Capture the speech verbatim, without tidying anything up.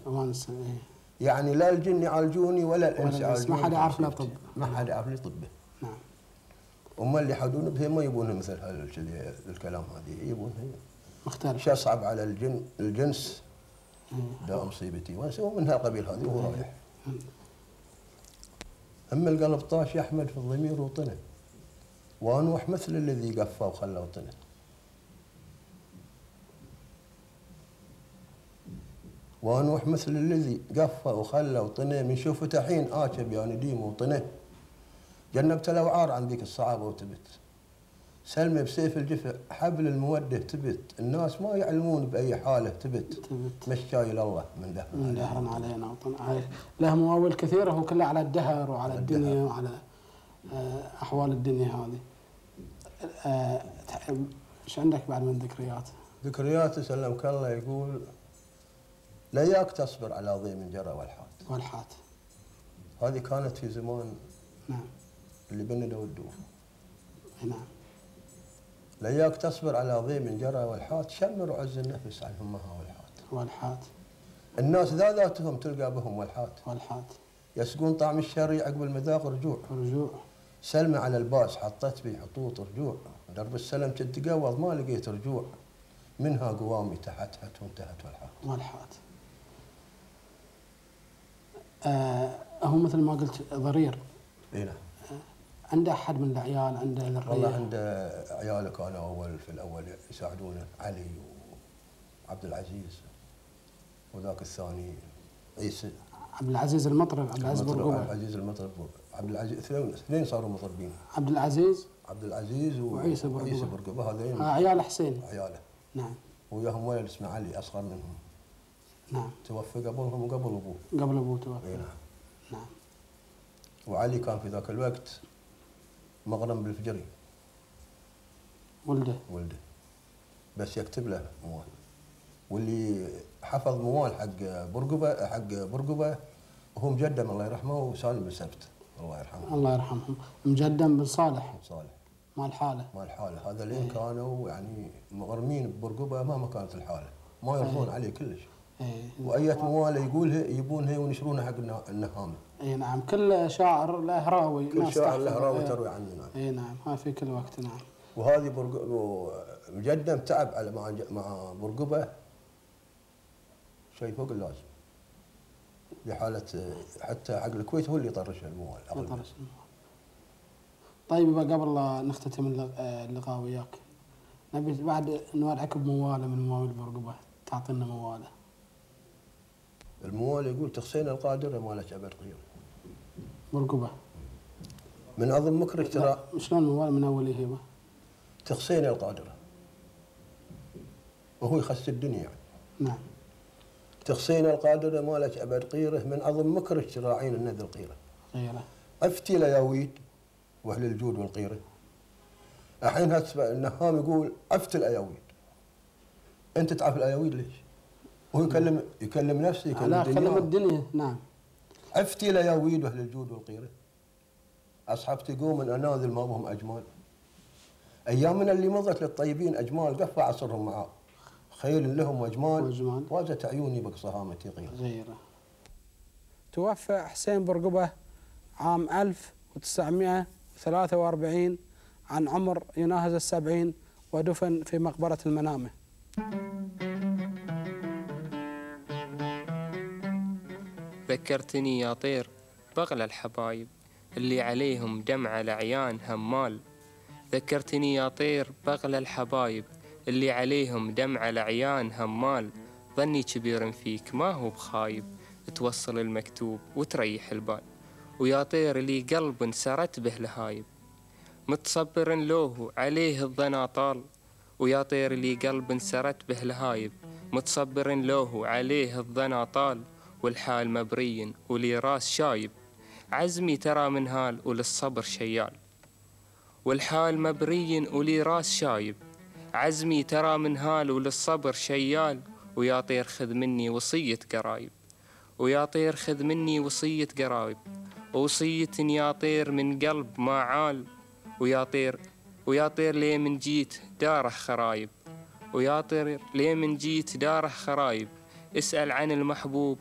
ونسه ونسه إيه. يعني لا الجن يعالجوني ولا الانس يعالجوني، ما حد يعرف له طب، ما حد يعرف لي طبه. نعم. هم اللي يحدون به ما يبون مثل هالكذي الكلام هذه، يبون هي مختلف. شيء صعب على الجن الجنس إيه. دا مصيبتي ونسه من هالقبيل هذه وهو رايح. اما القلب طاش يحمد في الضمير وطنه، وانوح مثل الذي قفى وخلى وطنه. وانوح مثل الذي قفى وخلى وطنه، من شوفته حين آكب يا نديم وطنه. جنبت الأوعار عن ذيك الصعابة وتبت، سلمي بسيف الجفع حبل المودة تبت. الناس ما يعلمون بأي حالة تبت، تبت. مشاي الله من دهر من دهر علينا وطن. له مواويل كثيرة، هو كله على الدهر وعلى الدنيا الدهر. وعلى أحوال الدنيا هذه. ايش عندك بعد من ذكريات؟ ذكريات سلمك الله يقول: لياك تصبر على ضيم جرى والحات. والحات هذه كانت في زمان نعم اللي بندوا الدوف. نعم. لياك تصبر على ضيم جرى والحات، شمر وعز النفس عن همها والحات. والحات الناس ذا ذاتهم تلقى بهم والحات. والحات يسقون طعم الشري عقب المذاق رجوع. رجوع. سلمى على الباس حطت بي حطوط رجوع، درب السلم كنت قوض ما لقيت رجوع، منها قوامي تحتحت وانتهت والحات. والحات. آه هو مثل ما قلت ضرير. اي نعم. آه عنده احد من العيال، عنده ذريه؟ والله عنده عياله كانوا اول في الاول يساعدونه، علي وعبد العزيز وذاك الثاني عيسى. عبد العزيز المطرب، عبد العزيز برقوبه. عبد العزيز المطرب، عبد العزيز اثنين صاروا مطربين. عبد العزيز عبد العزيز وعيسى برقوبه. وعيسى برقوبه هذين آه عيال حسين. عياله. نعم. وياهم ولد اسمه علي اصغر منهم. نعم. توفى قبلهم وقبل ابوه. قبل ابوه توفى. اي نعم. نعم. وعلي كان في ذاك الوقت مغرم بالفجري. ولده. ولده. بس يكتب له موال. واللي حفظ موال حق برقبه حق برقبه وهو مجدم الله يرحمه وسالم بن سبت الله يرحمه. الله يرحمهم. مجدم بن صالح. صالح. مال حاله. مال حاله، هذا لين كانوا يعني مغرمين ببرقبه مهما كانت الحاله، ما يرضون عليه كلش. ايه. واية مواله يقولها يبونها ونشرونها حق النهامه. اي نعم. كل شاعر له راوي. كل شاعر له راوي تروي عنه. نعم. اي نعم. ها في كل وقت. نعم. وهذه برق... مجدم تعب على مع مع برقبه شيء فوق اللازم. لحاله حتى حق الكويت هو اللي يطرش الموال. يطرش الموال. طيب قبل لا نختتم اللقاء وياك، نبي بعد نوعدك بمواله من مواويل برقبه، تعطينا مواله. الموال يقول: تخصين القادر مالك عبد قير. برقبه. من اظن مكرك ترى. شلون الموال من اول هيبه؟ تخصين القادره وهو يخص الدنيا يعني. نعم. تخصين القادره مالك عبد قيره، من اظن مكرك تراعين النذر قيره. غيره. افتي لياويد واهل الجود والقيره. الحين النهام يقول: افت الاياويد. انت تعرف الاياويد ليش؟ وهو يكلم يكلم نفسه يكلم لا الدنيا. يكلم الدنيا. نعم. افتي لياويد واهل الجود والقيره. اصحابتي قوم اناذل ما بهم اجمال. ايامنا اللي مضت للطيبين اجمال، قفى عصرهم معاه. خيل لهم واجمال، واجمال. واجت عيوني بصهامتي غيره. غيره. توفى حسين برقبه عام ألف وتسعمائة وثلاثة وأربعين عن عمر يناهز السبعين، ودفن في مقبرة المنامة. ذكرتني يا طير بغل الحبايب اللي عليهم دمع العيان همال. ذكرتني يا طير بغل الحبايب اللي عليهم دمع العيان همال. ظني كبير فيك ما هو بخايب، توصل المكتوب وتريح البال. ويا طير لي قلب سرت به لهايب، متصبر لوه عليه الظنا طال. ويا طير لي قلب سرت به لهايب، متصبر لوه عليه الظنا طال. والحال مبري ولي راس شايب، عزمي ترى من هال وللصبر شيال. والحال مبري ولي راس شايب، عزمي ترى من هال وللصبر شيال. ويا طير خذ مني وصية قرايب، ويا طير خذ مني وصية قرايب، وصية يا طير من قلب ما عال. ويا طير ويا طير ليه من جيت داره خرايب، ويا طير ليه من جيت داره خرايب. اسأل عن المحبوب